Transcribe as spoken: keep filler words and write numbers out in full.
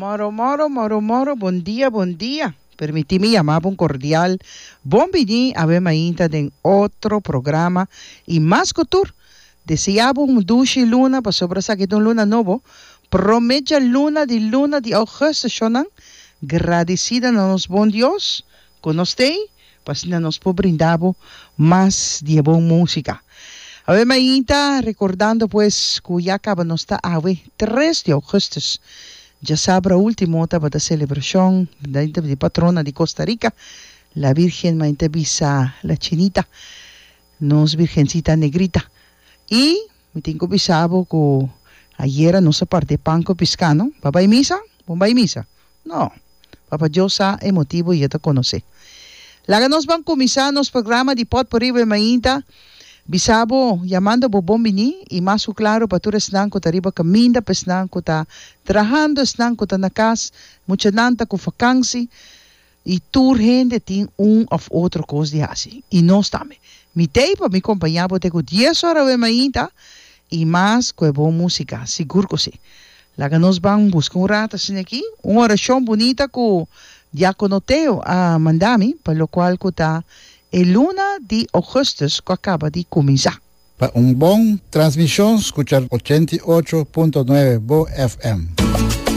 Moro, moro, moro, moro, bon dia, bon dia. Permití mi yama bo un kordial bon biní awe mainta den otro programa i mas ku tur, deseá bo un dushi luna pasobra esaki ta un luna nobo, promé djaluna di luna di ougùstùs. Shonnan, gradisida na nos bon Dios ku nos t'ei pa asina nos por brinda bo mas di e bon músika. Awe mainta, rekordando pues ku ya kaba nos ta awe tres di ougùstùs. Djasabra último tabata selebrashon di patrona di Costa Rica, la Virgen Mainta bisa la Chinita, nos Virgencita Negrita. I mi tin ku bisa bo ku ayera nos a parti pan ku piská, no? Bo a bai misa? Bo bai misa? No. Papa Dios sa e motibu i e ta konosé. Laga nos ban kuminsá nos programa di Pòtpurrí Awe Mainta. Bisa bo, yamando bo bon biní i mas ku klaru pa tur esnan ku ta riba kaminda, pa esnan ku ta trahando, esnan ku ta na kas, muchanan ta ku fakansi i tur hende tin un òf otro kos di hasi. I nos tambe. Mi t'ei pa mi kompañá bo te ku dies ora awe mainta i mas ku e bon músika, sigur ku sí. Laga nos ban buska un rat asina aki, un orashon bunita ku Diákono Teo a manda mi pa lokual ku ta e luna di ougùstùs ku a kaba di kuminsá. Pa un bon transmishon skucha ochenta i ocho punto nuebe Bo F M.